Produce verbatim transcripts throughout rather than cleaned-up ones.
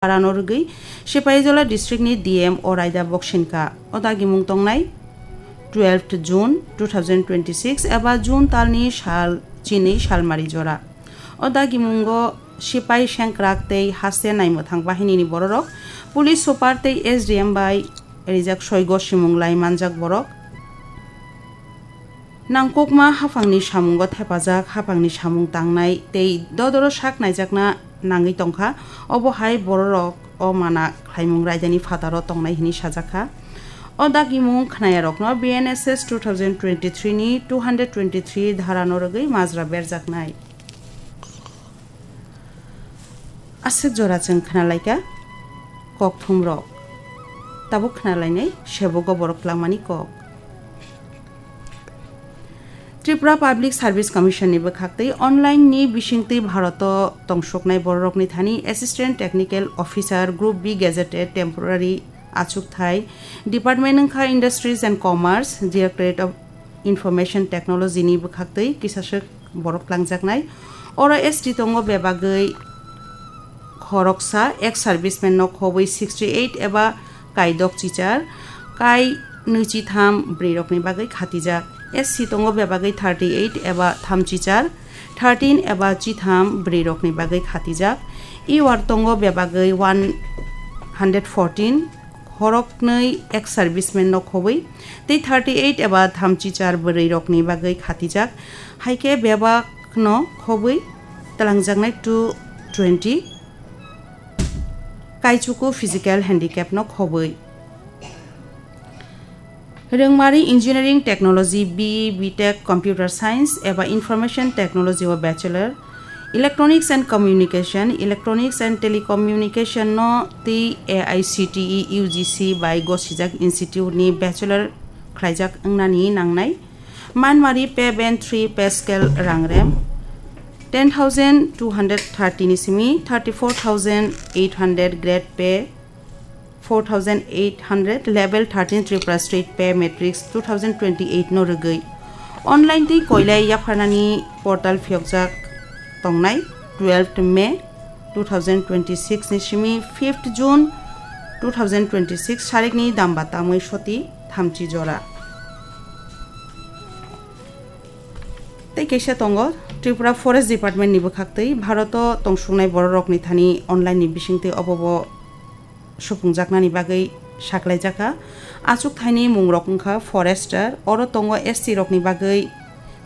Parano rwgwi Sepaijola district ni D M o raida boksinkha. O dagimung tongnai twelfth June two thousand twenty-six eba June talni sal chini salmari jora. O dagimungo sipai sengkrak tei haste naimwthang bahinini bororok, police super tei S D M bai rijak soi gosimung lai manjak borok. Nangkukma haphangni samungo thepajak, haphangni samung tangnai tei dodoro sak naijakna nangwi tongkha. Obo hai bororok o mana khlaimung raidani phataro tongnai hwnwi sajakha. O dagimung khnayarokno B N S S two thousand twenty-three ni two hundred twenty-three dharano rwgwi majra berjaknai. Aswk jora chwng khnalaikha kokthumrok. Tabuk khnalainai sebogo borok twlangmani kok. Tripura Public Service Commission ni bwkhaktwi online ni bisingtwi Bharoto tongsuknai bororokni thani Assistant Technical Officer Group B Gazetted Temporary achukthai department wngkha Industries and Commerce, Directorate of Information Technology ni bwkhaktwi kisaswk borok twlangjaknai. Oro S T tongo bebagwi khoroksa, ex serviceman no khobwi sixty eight eba kaidok chichar, kai nwichi tham bwrwi rokni bagwi khatijak. S C tongo bebagwi thirty eight eba tham chichar, thirteen eba chitham bwrwi rokni bagwi khatijak. E war tongo bebagwi one hundred fourteen, khoroknwi ex serviceman no khobwi tei thirty eight eba thamchi char bwrwi rokni bagwi khatijak. Haikhe bebak no khobwi twlangjaknai two twenty, kaichuku physical handicap no khobwi. Rwngmari Engineering Technology, B E, B Tech, Computer Science eba Information Technology o Bachelor, Electronics and Communication, Electronics and Telecommunication no tei A I C T E U G C bai gosijak institute ni Bachelor khlaijak wngnani nangnai. Manmari pay band three pay scale rangrem ten thousand two hundred thirty ni simi thirty four thousand eight hundred grade pay four thousand eight hundred, level thirteen Tripura State Pay Matrix two thousand twenty-eight no rwgwi online tei koilai yapharnani portal phiyokjak tongnai twelfth May two thousand twenty-six ni simi fifth June two thousand twenty-six sarikni damba tamwi soti thamchi jora. Tei kaisa tongo Tripura Forest Department ni bwkhaktwi Bharoto tongsuknai bororokni thani online ni bisingtwi obobo supungjaknani bagwi saklaijakha. Achukthaini mungrok wngkha forester, oro tongo S T rokni bagwi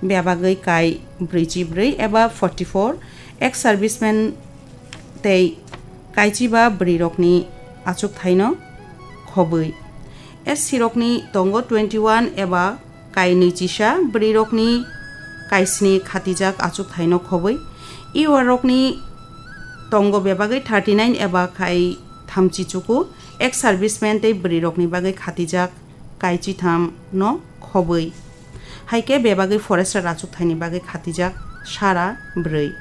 bebagwi kai brwichi brwi eba forty four, ex serviceman tei kaichiba bwrwirokni achukthaino khobwi. S C rokni tongo twenty one eba kainwi chisa, bwrwirokni kaisni khatijak achukthaino khobwi. E war rokni tongo bebagwi thirty nine eba kai thamchi chuku, ex serviceman tei bwrwirokni bagwi khatijak kai chitham no khobwi. Haikhe bebagwi forester achukthaini bagwi khatijak sara bwrwi.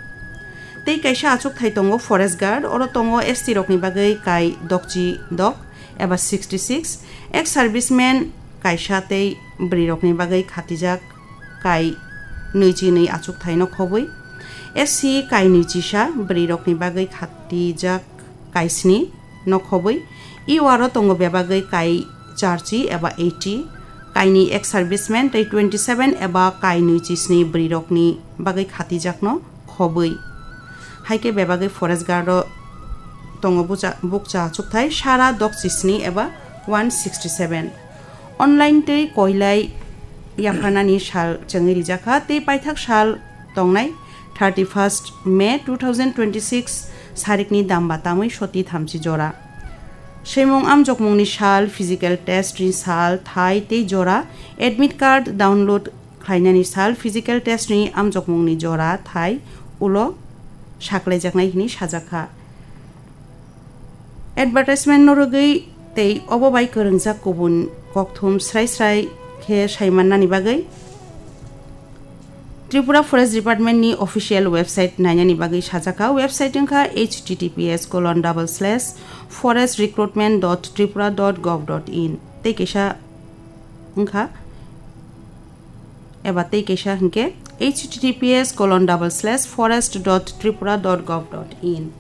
Tei kaisa achukthai tongo forest guard, oro tongo S T rokni bagwi kai dokchi dok eba sixty six, ex serviceman kaisa tei bwrwirokni bagwi khatijak kai nwichi nwi achukthaino khobwi. S C kai nwichisa, bwrwirokni bagwi khatijak kai sni no khobwi. E war o tongo bebagwi kai charchi eba eighty, kainwi ex serviceman tei twenty seven eba kainwi chisni bwrwirokni bagwi khatijakno khobwi. Haikhe bebagwi forest guard o tongo bucha-, bukcha achukthai sara dok chisni eba one sixty seven. Online tei koilai yapharnani sal chengwi rijakha tei paithak sal tongnai thirty first May two thousand twenty six sarikni damba tamwi soti thamchi jora. Swimung amjokmungni sal, physical test ni sal, thai tei jora, admit card download khlainani sal, physical test ni amjokmungni jora, thai ulo saklaijaknai hwnwi sajakha. Advertisement no rwgwi tei obo bai kwrwngjak kubun kokthum srai srai khe saimannani bagwi Tripura Forest Department ni official website nainani bagwi sajakha. Website wngkha H T T P S colon double slash forest recruitment dot tripura dot gov dot in. Tei kaisa wngkha eba tei kaisa hwnkhe H T T P S colon double slash forest dot tripura dot gov dot in.